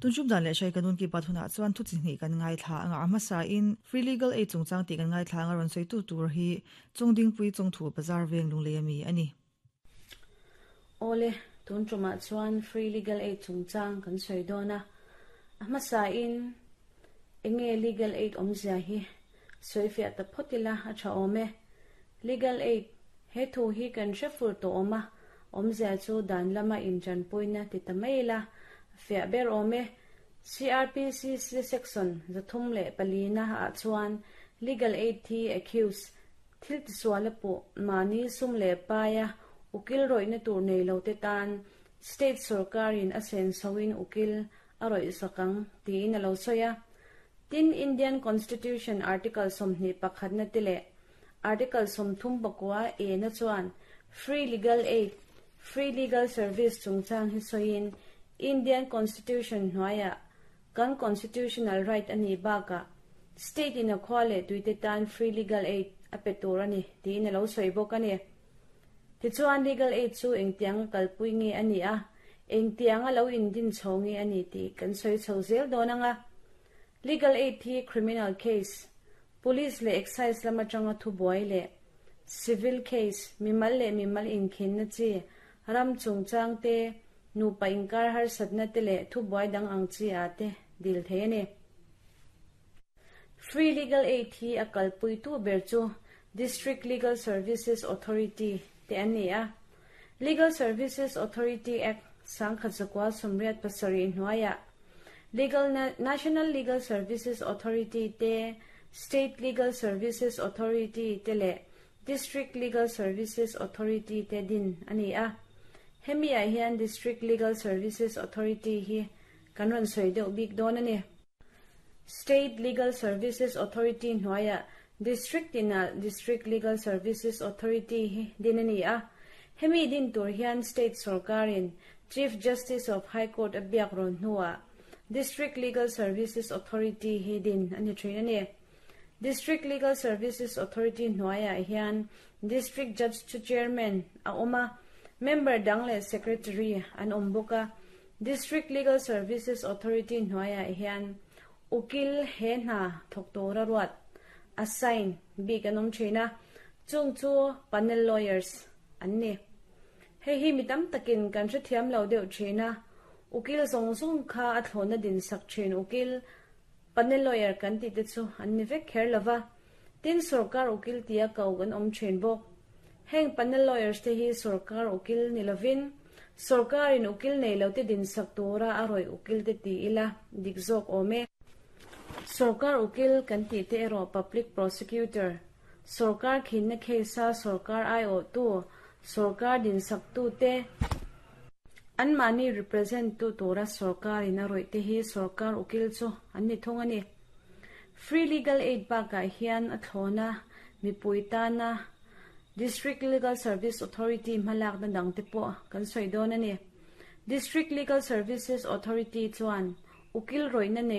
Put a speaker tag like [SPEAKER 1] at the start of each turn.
[SPEAKER 1] Tun tum dan leh hrai ka nun ki bat hunah chuan thu chi hnih kan ngaithla anga a hmasa in Free Legal Aid chungchang tih kan ngaithla anga rawn sawi tu tur hi Chungdingpui Chawngthu Bazar veng lunglei ami a ni.
[SPEAKER 2] Awle, tun tumah chuan Free Legal Aid chungchang kan sawi dawn a, a hmasa in enge Legal Aid awmzia hi sawifiah ta phawt ila a tha awm e. Legal Aid, he thu hi kan hre fur tawh awm a, awmzia chu dan lama inchanpuina ti ta mai ila a fiah ber awm e. CRPCC Section 304 na ah chuan Legal Aid hi accused, thil tisual a puh, mahni sum leh paia ukil rawihna tur nei lo te tan State sawrkarin a sensoin ukil a rawih sak ang tiin a lo sawi a. Tin, Indian Constitution Article 21 na te leh Article 39 A na chuan Free Legal Aid, Free Legal Service chungchang hi sawiin Indian Constitution hnuaiah kan Constitutional Right a nih bakah State in a khua leh tuite tan Free Legal Aid a pe tur a ni tiin a lo sawi bawk a ni. Tichuan Legal Aid chu engtianga kalpui nge a nih a, engtianga lo indin chho nge a ni tih kan sawi chho zel dawn ang a. Legal Aid hi Criminal Case, Police leh Excise lam atanga thubuai leh Civil Case, mimal leh mimal inkhinna chi, ram chungchang te, nupa inkar harsatna te leh thubuai dang ang chi ah te dil thei a ni. Free Legal Aid hi a kalpuitu ber chu District Legal Services Authority te an ni a. Legal Services Authority Act 1987 hnuaiah Legal National Legal Services Authority te, State Legal Services Authority te leh District Legal Services Authority te din a ni a. Hemi ah hian District Legal Services Authority hi kan rawn sawi deuh bik dawn a ni. State Legal Services Authority hnuaiah District tinah District Legal Services Authority hi din a ni a. Hemi din tur hian State sawrkarin Chief Justice of High Court a biak rawn hnuah District Legal Services Authority hi din a ni thin a ni. District Legal Services Authority hnuaiah hian District Judge chu Chairman a awm a, member dang leh Secretary an awm bawk a. District Legal Services Authority hnuaiah hian ukil he hna thawk tura ruat, assign, bik an awm thin a, chung chu panel lawyers an ni. Hei hi mi tam takin kan hrethiam lo deuh thin a, ukil zawng zawng kha a thlawhna din sak thin ukil, panel lawyer kan tih te chu an ni vek kher lova, tin sawrkar ukil tia ko kan awm thin bawk. Heng panel lawyers te hi sawrkar ukil ni lovin, sawrkarin ukil nei lo te din sak tura a rawih ukil te ti ila dik zawk awm e. Sawrkar ukil kan tih te erawh public prosecutor, Sawrkar khinna case a sawrkar aiawhtu, sawrkar dinsaktute, anmahni represent tu tura sawrkarin a rawih te hi sawrkar ukil chu an ni thung a ni. Free Legal Aid bakah hian a thlawna mipui tana District Legal Service Authority hmalakna dangte pawh kan sawi dawn a ni. District Legal Services Authority chuan ukil rawihna nei.